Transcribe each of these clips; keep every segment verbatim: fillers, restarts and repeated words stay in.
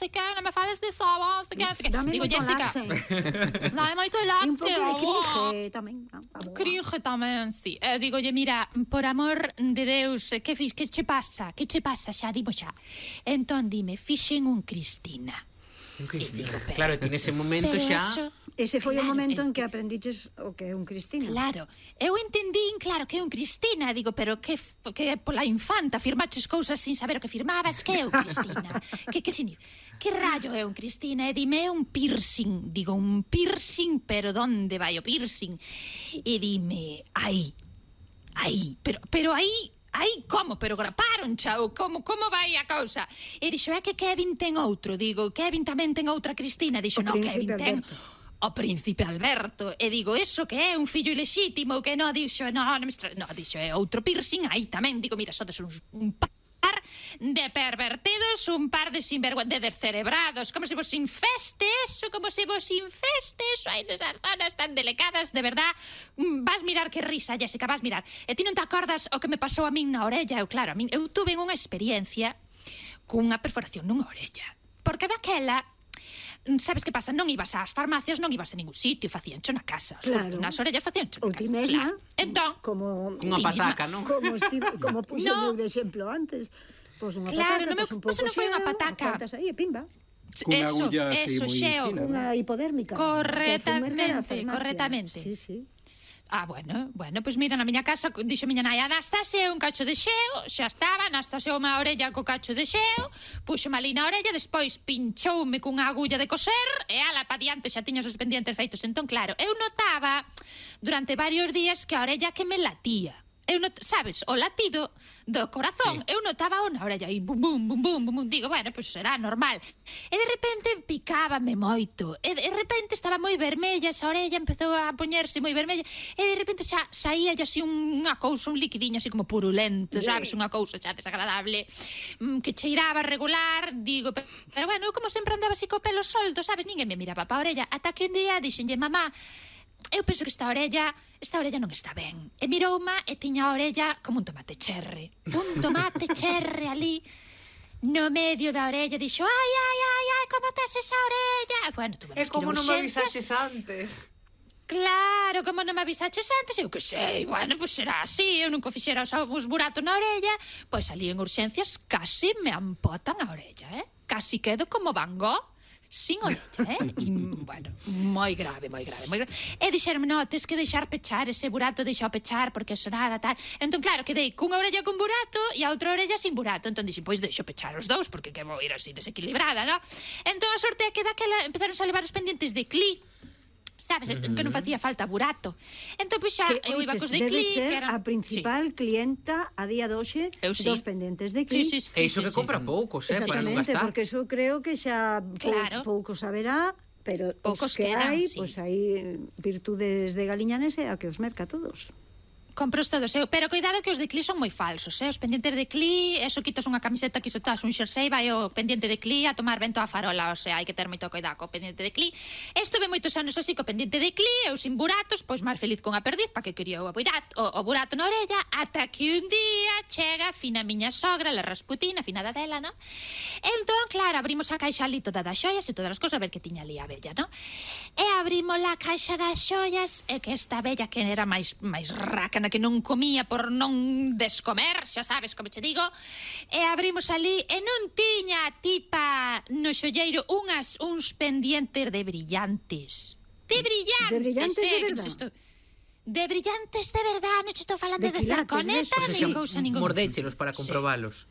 sei que, non me fales de soba, non sei que, non sei que. Dame Digo, moito Jessica, laxe. dame moito E laxe. un pouco de oh. cringe tamén. Ah, ah, Cringe tamén, sí. E digolle, mira, por amor de Deus, que, fix, que che pasa? Que che pasa xa? Dimo xa. Entón, dime, fixen un Cristina. Un Cristina. Digo, pero- Claro, ti nese momento Pero xa... eso... Ese foi o Claro, momento en- en que aprendiches o que é un Cristina. Claro, eu entendín, claro, que é un Cristina. Digo, pero que, que pola infanta firmaches cousas sin saber o que firmabas. Que é un Cristina? que, que significa? Que rayo é un Cristina? E dime, é un piercing. Digo, un piercing, pero donde vai o piercing? E dime, aí, aí, pero, pero aí... Aí, como? Pero graparon, chao, como, como vai a cousa? E dixo, é que Kevin ten outro. Digo, Kevin tamén ten outra Cristina. Dixo, O no, príncipe Kevin ten Alberto. o príncipe Alberto. E digo, eso que é un fillo ilexítimo, que non, dixo, no, non me estra... no, dixo, é outro piercing, aí tamén. Digo, mira, sodes uns, un par de pervertidos, un par de sinvergüenzas, de descerebrados, como se vos infeste eso, como se vos infeste eso, aí nesas zonas tan delicadas, de verdad. Mm, vas mirar que risa, Jessica, vas mirar. E ti non te acordas o que me pasou a min na orella? Eu, claro, a min, eu tuve unha experiencia cunha perforación nunha orella. Porque daquela, sabes que pasa? Non ibas ás farmacias, non ibas a ningún sitio, facíancho na casa. Claro. Nas orellas facíancho na Ou casa. ti mesma, Claro. Entón, como Unha Ti mesma. pataca, non? como estivo, como puxe No. eu de exemplo antes. Pois unha Claro, pataca, no meu pois un caso pouco non foi unha xeo, pataca. aguantas aí e pimba. Cunha eso, agulla así eso, moi xeo. fina. Unha hipodérmica. Correctamente, correctamente. Sí, sí. Ah, bueno, bueno, pois pues mira, na miña casa dixo miña nai, Anastasia, un cacho de xeo, xa estaba, Anastasia unha orella co cacho de xeo, puxo ali na orella, despois pinchoume cunha agulla de coser, e ala pa diante xa tiña os pendientes feitos. Entón, claro, eu notaba durante varios días que a orella que me latía. Eu not, sabes, o latido do corazón, sí. Eu notaba na orella aí, bum, bum, bum, bum, bum, digo, bueno, pois pues será normal. E de repente picábame moito, e de repente estaba moi vermella, esa orella empezou a poñerse moi vermella, e de repente xa saía así unha cousa, un liquidiño así como purulento, sabes, unha cousa xa desagradable, que cheiraba regular, digo, pero, pero bueno, eu como sempre andaba así co pelo solto, sabes, ninguén me miraba pa orella, ata que un día dixenlle, mamá, eu penso que esta orella, esta orella non está ben. E mirouma e tiña a orella como un tomate cherre. Un tomate cherre ali no medio da orella. Dixo, ai, ai, ai, ai, como tes esa orella? Bueno, tuve É como non me avisaches urxencias. antes. Claro, como non me avisaches antes, eu que sei, bueno, pois pues será así, eu nunca fixera os, os buratos na orella, pois ali en urxencias casi me ampotan a orella, eh? Casi quedo como Van Gogh, sin orella, eh? E, bueno, moi grave, moi grave, moi grave. E dixeronme, no, tes que deixar pechar ese burato, deixao pechar, porque sonada, tal. Entón, claro, quedei cunha orella con burato e a outra orella sin burato. Entón, dixen, pois deixo pechar os dous, porque que vou ir así desequilibrada, no? Entón, a sorte é que daquela empezaron a levar os pendientes de cli, sabes, uh -huh. que non facía falta burato. Entón, pois xa, Que, eu iba oiches, cos de debe cli, ser que eran... a principal sí. clienta a día de hoxe Eu sí. dos pendentes de Cli. Sí, sí, sí, E iso sí, que sí. compra poucos, eh, para non Exactamente, gastar. porque eso creo que xa Claro. pou, pouco saberá, pero Poucos os que quedan, hai, sí. pois pues hai virtudes de Galiñanes e a que os merca a todos. Compros todos, eu, pero cuidado que os de Cli son moi falsos, eh? Os pendientes de Cli, eso quitas unha camiseta, que iso tas un xersei, vai o pendiente de Cli a tomar vento a farola, o sea, hai que ter moito cuidado co pendiente de Cli. Estuve moitos anos así co pendiente de Cli, eu sin buratos, pois máis feliz con a perdiz, pa que quería o burato, o, o burato na orella, ata que un día chega fina miña sogra, la Rasputina, finada dela, no? Entón, claro, abrimos a caixa ali toda das xoias e todas as cousas, a ver que tiña ali a bella, no? E abrimos a caixa das xoias, e que esta bella que era máis máis rácana, que non comía por non descomer, xa sabes como che digo, e abrimos ali e non tiña a tipa no xolleiro unhas uns pendientes de brillantes. De brillantes, De brillantes de eh, verdad? non estou- De brillantes de verdad, non che estou falando De de, quilates zirconeta, desos, nin sí. cousa ningún. Mordéchelos para comprobalos.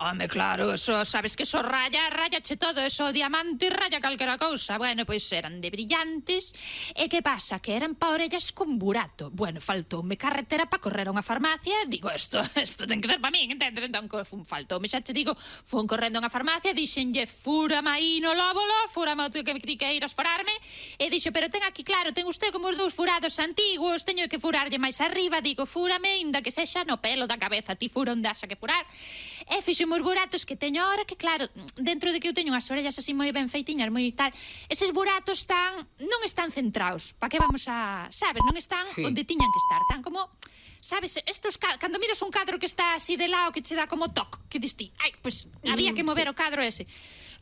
Home, claro, eso, sabes que eso raya, rayache todo, eso diamante raya calquera cousa. Bueno, pois eran de brillantes. E que pasa? Que eran pa orellas con burato. Bueno, faltoume carretera pa correr a unha farmacia. Digo, isto, isto ten que ser pa min, entendes? Entón, fun, faltoume, xa che digo, fun correndo a unha farmacia, dixenlle, fúrame aí no lóbulo, fúrame o que me di que iras forarme, e dixo, pero ten aquí, claro, ten usted como os dous furados antiguos, teño que furarlle máis arriba, digo, fúrame, inda que sexa no pelo da cabeza, ti fura onde haxa que furar. E fixo os buratos que teño ahora, que claro, dentro de que eu teño unhas orellas así moi ben feitiñas, moi tal, eses buratos están, non están centrados, pa que vamos a, sabes, non están Sí. onde tiñan que estar, tan como, sabes, estos, cando miras un cadro que está así de lado, que che dá como toc, que dis ti, ai, pois, había que mover o cadro ese.